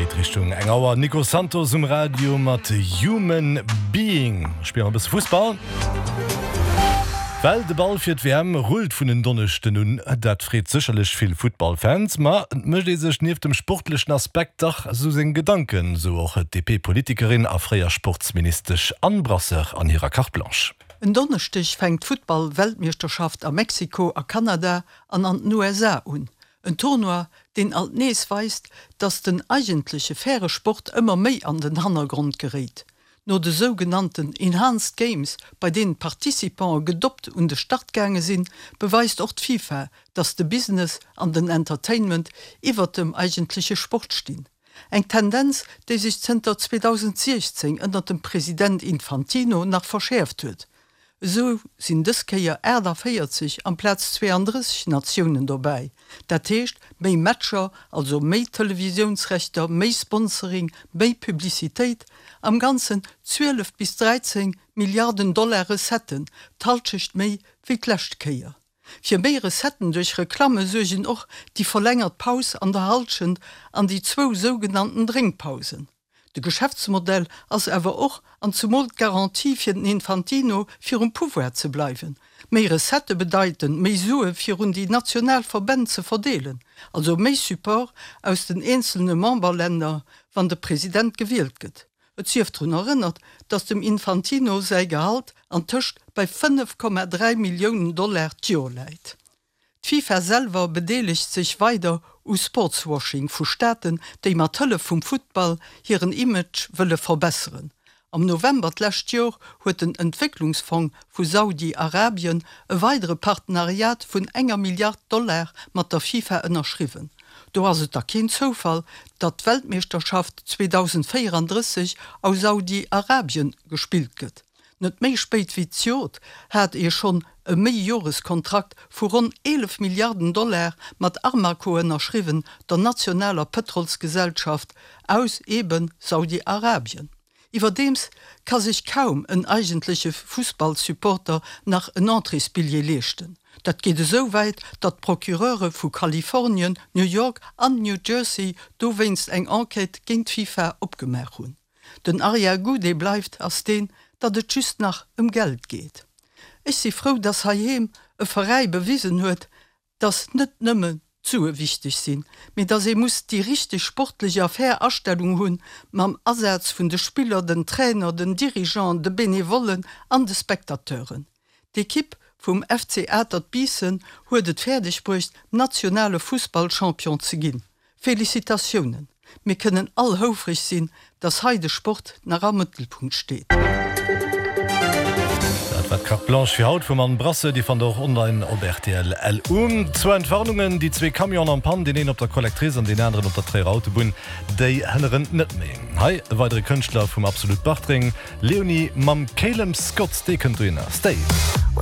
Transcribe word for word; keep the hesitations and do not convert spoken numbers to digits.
geet Richtung eng Auer. Nico Santos um Radio mat Human Being. Spille mer e bësse Fussball. Well de Ball fir d'WM rullt vun en Donneschden un, dat freet sécherlech vill Futtballfans, ma et mécht ee sech nieft dem sportlechen Aspekt dach sou seng Gedanken, sou och d'DP-Politikerin a fréier Sportsministesch Anne Brasseur an hirer Carte Blanche. En Donneschdeg fänkt d'Futtball-Weltmeeschterschaft a Mexiko, a Kanada an an den USA un. En Tournoi, deen alt nees weist, datt den eigentleche faire Sport ëmmer méi an den Hannergrond geréit. No de sougenannten Enhanced Games, bei deenen d'Participantë gedopt un de Start gaange sinn, beweist och d'FIFA, datt de Business an den Entertainment iwwert dem eigentleche Sport stinn. Eng Tendenz, déi sech zënter zweedausendsiechzéng ënnert dem President Infantino nach verschäerft huet. Esou sinn dës Kéier aachtavéierzeg amplaz zweeandrësseg Natiounen dobäi. Dat heescht, méi Matcher, also méi Televisiounsrechter, méi Sponsoring, méi Publicitéit, am Ganzen zwielef bis dräizéng Milliarden Dollar Recetten, d'Hallschecht méi wéi d'lescht Kéier. Fir méi Recetten duerch Reklamme suergen och déi verlängert Paus an der Hallschent an déi zwou sougenannten Drénkpausen. De Geschäftsmodell ass awer och an zumol d'Garantie fir den Infantino fir um Pouvoir ze bleiwen. Méi Recettë bedeiten méi Sue fir un déi national Verbänn ze verdeelen, also méi Support aus den eenzelne Memberlänner wann de President gewielt gëtt. Et sief drun erënnert, datt dem Infantino säi Gehalt antëscht bei fënnef Komma dräi Milliounen Dollar d'Joer läit. D'FIFA selwer bedeelegt sech weider u Sportswashing vu Staaten, déi mat Hëllef vum Futtball hiren Image wëlle verbesseren. Am November d'lescht Joer huet den Entwécklungsfong vu Saudi-Arabien e weidere Partenariat vun enger Milliard Dollar mat der FIFA ënnerschriwwen. Do ass et da keen Zoufall, datt d'Weltmeeschterschaft zweedausendvéierandrësseg a Saudi-Arabien gespillt gëtt. Net méi spéit wéi d'Jort hat ee schonn e Méijoreskontrakt vu ronn eelef Milliarden Dollar mat Armaco ënnerschriwwen, der nationaler Pëtrolsgesellschaft aus eebe Saudi-Arabien. Iwwerdeems ka sech kaum en eigentleche Fussballsupporter nach en Entréesbilljee leeschten. Dat geet esou wäit, datt d'Procureure vu Kalifornien, New York an New Jersey dowéinst eng Enquête géint d'FIFA opgemaach hunn. Den Arrière-goût, dee bleift, ass deen, datt et just nach ëm Geld geet. Ech si frou, datt heiheem e Veräi bewisen huet, datt net nëmmen d'Sue wichteg sinn, mee datt ee muss déi richteg sportlech a fair Astellung hunn, mam Asaz vun de Spiller, den Trainer, den Dirigeanten, de Benevollen an de Spectateuren. D'Ekipp vum F C Atert Biissen huet et fäerdeg bruecht, nationale Fussballchampion ze ginn. Felicitatiounen! Mir kënnen all houfreg sinn, dass hei de Sport nach am Mëttelpunkt steet. Dat war d'Carte Blanche fir haut vum Anne Brasseur, déi fannt der och online op rtl L U. Zwou Entwarnungen, déi zwee Camionen en panne, deen een op der Collectrice an deen aneren op der Tréierer Autobunn, déi hënneren net méi. Hei e weidere Kënschtler vum Absolut Bartreng, Leonie mam Calum Scott, dee kënnt dohinner. Stay.